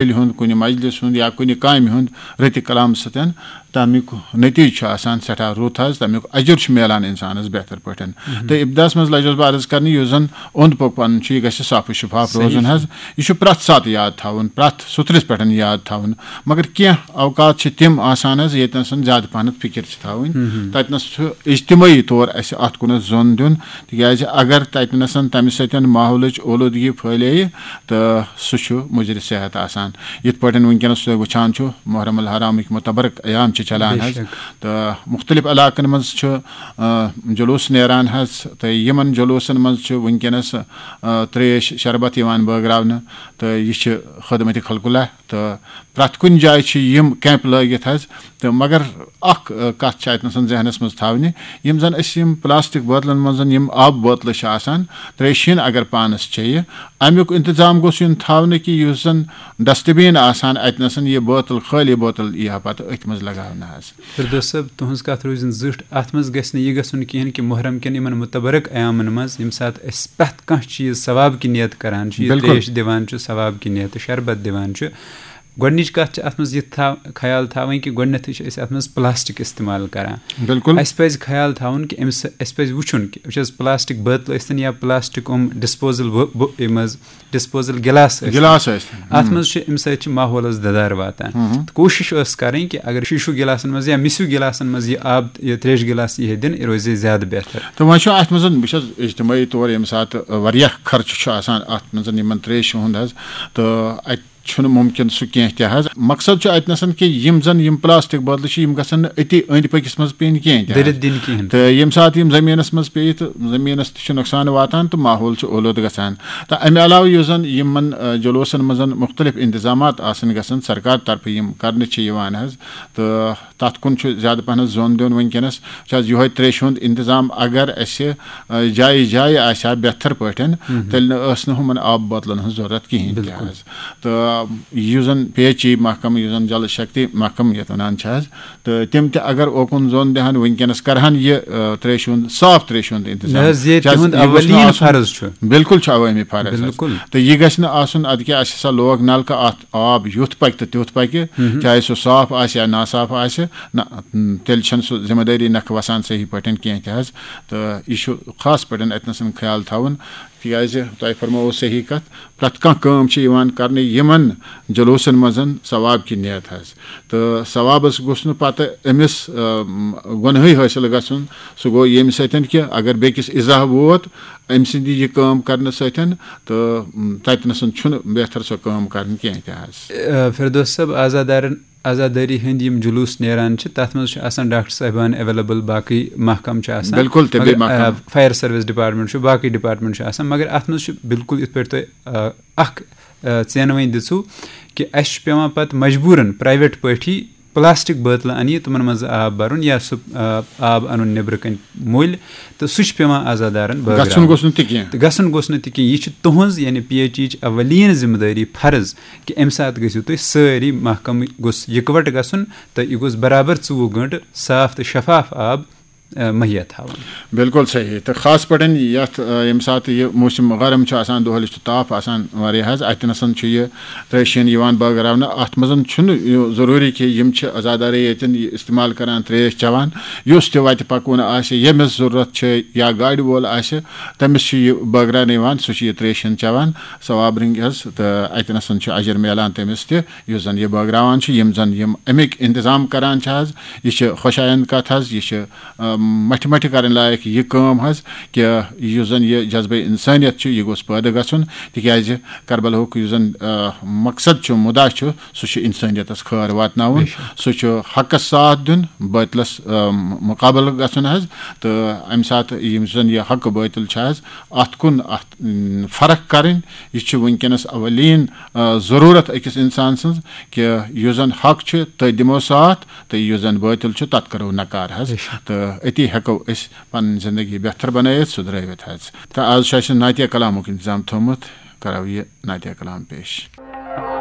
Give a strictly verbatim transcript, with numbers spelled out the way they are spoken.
میلہِ ہُنٛد، کُنہِ مجلس ہُنٛد یا کُنہِ کامہِ ہُنٛد رٕتہِ کلام سۭتۍ، تَمیُک نتیٖجہٕ چھُ آسان سٮ۪ٹھاہ رُت حظ، تَمیُک اجر چھُ میلان اِنسانَس بہتر پٲٹھۍ۔ تہٕ ابتداہَس منٛز لَجوس بہٕ عرض کرنہِ، یُس زَن اوٚنٛد پوٚک پَنُن چھُ، یہِ گژھِ صاف و شفاف روزُن حظ۔ یہِ چھُ پرٛٮ۪تھ ساتہٕ یاد تھاوُن، پرٛٮ۪تھ سُترِس پٮ۪ٹھ یاد تھاوُن۔ مگر کینٛہہ اوقات چھِ تِم آسان حظ، ییٚتہِ نَسَن زیادٕ پَہنَتھ فِکِر چھِ تھاوٕنۍ۔ تَتہِ نَس چھُ اجتمٲعی طور اَسہِ اَتھ کُنَتھ زوٚن دیُن، تِکیٛازِ اگر تَتہِ نَسَن تَمہِ سۭتۍ ماحولٕچ اولوٗدگی پھٲلییہِ، تہٕ سُہ چھُ مُضِرِ صحت آسان۔ یِتھ پٲٹھۍ وٕنکیٚنَس تُہۍ وٕچھان چھُو، محرم الحرامٕکۍ مُتبرک ایام چھِ چلان بے حظ، شک۔ تہٕ مُختٔلِف علاقَن منٛز چھُ، آ، جلوٗس نیران حظ، تہٕ یِمَن جلوٗسَن منٛز چھُ وٕنکیٚنَس، آ، ترٛیش شربت یِوان بٲگراونہٕ، تہٕ یہِ چھِ خدمت خلق اللہ، تہٕ پرٛٮ۪تھ کُنہِ جایہِ چھِ یِم کیمپ لٲگِتھ حظ۔ تہٕ مگر اَکھ، آ، کَتھ چھِ اَتہِ نَسَن ذہنَس منٛز تھاوٕنہِ، یِم زَن أسۍ یِم پلاسٹک بٲتلَن منٛز یِم آبہٕ بٲتلہٕ چھِ آسان، ترٛیشہِ ہِن اگر پانَس چیٚیہِ، اَمیُک اِنتظام گوٚژھ یُن تھاونہٕ کہِ یُس زَن ڈسٹبین آسان، اَتہِ نَسَن یہِ بٲتل، خٲلی بٲتل یی ہا پَتہٕ أتھۍ منٛز لگاونہٕ حظ۔ فردوس صٲب، تُہٕنٛز کَتھ روٗزِن زِٹھ۔ اَتھ منٛز گژھِ نہٕ یہِ گژھُن کِہیٖنۍ کہِ محرم کٮ۪ن یِمَن مُتبرک ایامَن منٛز، ییٚمہِ ساتہٕ أسۍ پرٛٮ۪تھ کانٛہہ چیٖز ثواب کہِ نیت کران چھِ، یہِ بِلکُل۔ ترٛیش دِوان چھُ، ثواب کہِ نیتہٕ شربت دِوان چھُ، گۄڈٕنِچ کَتھ چھِ اَتھ منٛز یہِ تھا-، خیال تھاوٕنۍ کہِ گۄڈٕنٮ۪تھٕے چھِ أسۍ اَتھ منٛز پلاسٹک استعمال کران۔ بِلکُل۔ اَسہِ پَزِ خیال تھاوُن کہِ أمِس، اَسہِ پَزِ وٕچھُن کہِ وٕچھ حظ، پلاسٹک بٲتلہٕ ٲسۍتَن یا پلاسٹک یِم ڈسپوزل بو-، بو-، یِم حظ ڈسپوزل گِلاس ٲسۍ۔ گِلاس ٲسۍ۔ اَتھ ہم۔ منٛز چھُ، اَمہِ سۭتۍ چھُ ماحولَس دَدار واتان۔ ہم۔ تہٕ کوٗشِش ٲس کَرٕنۍ کہِ اگر شیٖشو گِلاسَن منٛز یا مِسِو گِلاسَن منٛز یہِ آب، یہِ ترٛیشہِ گِلاس یی ہے دِنہٕ، یہِ روزِ ہے زیادٕ بہتر۔ تہٕ وۄنۍ چھُ اَتھ منٛز، بہٕ چھُس اجتمٲعی طور ییٚمہِ ساتہٕ واریاہ خرچہٕ چھُ آسان اَتھ منٛز یِمَن ترٛیشہِ ہُنٛد حظ، تہٕ اَتہِ چھُنہٕ مُمکِن سُہ کینٛہہ تہِ حظ۔ مقصد چھُ اَتہِ نَسَن کہِ یِم زَن یِم پلاسٹک بٲتلہٕ چھِ، یِم گژھن نہٕ أتی أنٛدۍ پٔکِس منٛز پیٚنۍ کینٛہہ تہِ حظ۔ دٔرِتھ دِنۍ کِہیٖنۍ۔ تہٕ ییٚمہِ ساتہٕ یِم زٔمیٖنَس منٛز پیٚیہِ، تہٕ زٔمیٖنَس تہِ چھُ نۄقصان واتان تہٕ ماحول چھُ اولوٗدٕ گژھان۔ تہٕ اَمہِ علاوٕ یُس زَن یِمَن، آ، جلوٗسَن منٛز مُختٔلِف اِنتظامات آسَن گژھان، سرکار طرفہٕ یِم کَرنہٕ چھِ یِوان حظ، تہٕ تَتھ کُن چھُ زیادٕ پَہنَس زوٚن دیُن وٕنکیٚنَس۔ چھُ حظ یِہوٚے ترٛیشہِ ہُنٛد اِنتظام اگر اَسہِ، آ، جایہِ جایہِ آسہِ ہا بہتر پٲٹھۍ، تیٚلہِ نہٕ ٲس نہٕ ہُمَن آب بٲتلَن ہٕنٛز ضوٚرَتھ کِہیٖنۍ تہِ بِلکُل۔ حظ۔ تہٕ یُس زَن پی ایچ ای محکمہٕ، یُس زَن جل شکتی محکمہٕ یَتھ وَنان چھِ حظ، تہٕ تِم تہِ اگر اوکُن زوٚن دِہَن، وٕنکیٚنَس کَرٕہَن یہِ، آ، ترٛیشہِ ہُنٛد، صاف ترٛیشہِ ہُنٛد اِنتظام۔ نہ حظ، یہِ چھِ حظ، تِہُنٛد یہِ گوٚژھ نہٕ اَولیٖن آسُن، فرض چھُ۔ بِلکُل چھُ عوٲمی فرض حظ۔ بِلکُل۔ تہٕ یہِ گژھِ نہٕ آسُن اَدٕ کیٛاہ اَسہِ ہسا لوگ نَلکہٕ، اَتھ آب یُتھ پَکہِ تہٕ تیُتھ پَکہِ، چاہے سُہ صاف آسہِ یا ناصاف آسہِ، نہ، تیٚلہِ چھَنہٕ سُہ ذمہٕ دٲری نَکھٕ وَسان صحیح پٲٹھۍ کینٛہہ تہِ حظ۔ تہٕ یہِ چھُ خاص پٲٹھۍ اَتہِ نَسَن خیال تھاوُن، تِکیٛازِ تۄہہِ فرمٲوو صحیح کَتھ، پرٛٮ۪تھ کانٛہہ کٲم چھِ یِوان کَرنہٕ یِمَن جلوٗسَن منٛز ثواب کہِ نیت حظ۔ تہٕ ثوابَس گوٚژھ نہٕ پَتہٕ أمِس، آ، گۄنہٕے حٲصِل گژھُن۔ سُہ گوٚو ییٚمہِ سۭتۍ کہِ اگر بیٚکِس اِزاہ ووت أمۍ سٕنٛدِ یہِ کٲم کَرنہٕ سۭتۍ، تہٕ، م، تَتہِ نَسَن چھُنہٕ بہتر سۄ کٲم کَرٕنۍ کینٛہہ تہِ حظ۔ آ، فردوس صٲب، عزادارَن، عزادٲری ہٕنٛدۍ یِم جلوٗس نیران چھِ، تَتھ منٛز چھُ آسان ڈاکٹر صٲبان ایویلیبل، باقٕے محکمہٕ چھِ آسان۔ بِلکُل، طبی مگر، آ، محکمہٕ۔ فایَر سٔروِس ڈپارٹمنٹ چھُ، باقٕے ڈپارٹمنٹ چھُ آسان، مگر اَتھ منٛز چھُ بِلکُل یِتھ پٲٹھۍ تۄہہِ، آ، اَکھ، آ، ژینوٕنۍ دِژوٕ کہِ اَسہِ چھُ پٮ۪وان پَتہٕ مجبوٗرَن پرٛایویٹ پٲٹھی پلاسٹک بٲتلہٕ اَنہِ، تِمَن منٛز آب بَرُن یا سُہ، آ، آب اَنُن نیٚبرٕ کَنۍ مٔلۍ، تہٕ سُہ چھُ پٮ۪وان عزادارَن بٲگراوُن۔ گژھُن گوٚژھ نہٕ تہِ کینٛہہ۔ تہٕ گژھُن گوٚژھ نہٕ تہِ کینٛہہ۔ یہِ چھِ تُہٕنٛز، یعنی پی ایچ ایچ اولین ذمہٕ دٲری، فرض، کہِ اَمہِ ساتہٕ گٔژھِو تُہۍ سٲری، محکمہٕ گوٚژھ یِکوَٹہٕ گژھُن تہٕ یہِ گوٚژھ برابر ژوٚوُہ گٲنٛٹہٕ صاف تہٕ شفاف آب، آ، مہیا تھاوُن۔ بِلکُل صحیح۔ تہٕ خاص پٲٹھۍ یَتھ، آ، ییٚمہِ ساتہٕ یہِ موسم گرم چھُ آسان، دۄہلہِ چھُ تاپھ آسان واریاہ حظ، اَتہِ نَسَن چھُ یہِ ترٛیشہِ ہِن یِوان بٲگراونہٕ۔ اَتھ منٛز چھُنہٕ یہِ ضروٗری کہِ یِم چھِ عزادارٕے ییٚتٮ۪ن یہِ استعمال کران، ترٛیش چٮ۪وان۔ یُس تہِ وَتہِ پَکوُن آسہِ، ییٚمِس ضروٗرت چھِ یا گاڑِ وول آسہِ، تٔمِس چھُ یہِ بٲگراونہٕ یِوان، سُہ چھُ یہِ ترٛیشہِ ہِن چٮ۪وان ثواب رٔنٛگۍ حظ، تہٕ اَتہِ نَسَن چھُ اجر میلان تٔمِس تہِ، یُس زَن یہِ بٲگراوان چھُ۔ یِم زَن یِم اَمِکۍ انتظام کران چھِ حظ، یہِ چھِ خۄش آیند کَتھ حظ، یہِ چھِ، آ، مَٹھِ مَٹھِ کَرٕنۍ لایق یہِ کٲم حظ، کہِ یُس زَن یہِ جذبہٕ اِنسٲنیت چھُ، یہِ گوٚژھ پٲدٕ گژھُن، تِکیٛازِ کربلاہُک یُس زَن، آ، مقصد چھُ، مُدا چھُ، سُہ چھُ اِنسٲنیتَس خٲر واتناوُن، بے شک۔ سُہ چھُ حقَس ساتھ دیُن، بٲطلَس، آ، مُقابلہٕ گژھُن حظ۔ تہٕ اَمہِ ساتہٕ یُس زَن یہِ حق بٲطِل چھُ حظ، اَتھ کُن، اَتھ، م، فرق کَرٕنۍ، یہِ چھُ وٕنکیٚنَس اولین، آ، ضروٗرت أکِس اِنسان سٕنٛز، کہِ یُس زَن حق چھُ، تٔتھۍ دِمو ساتھ، تہٕ یُس زَن بٲطِل چھُ، تَتھ کَرو نکار حظ۔ بے شک۔ تہٕ أتی ہٮ۪کو أسۍ پَنٕنۍ زِندگی بہتر بَنٲیِتھ، سُدرٲوِتھ حظ۔ تہٕ آز چھُ اَسہِ نعتیہ کلامُک اِنتظام تھوٚومُت، کَرو یہِ نعتیہ کلام پیش۔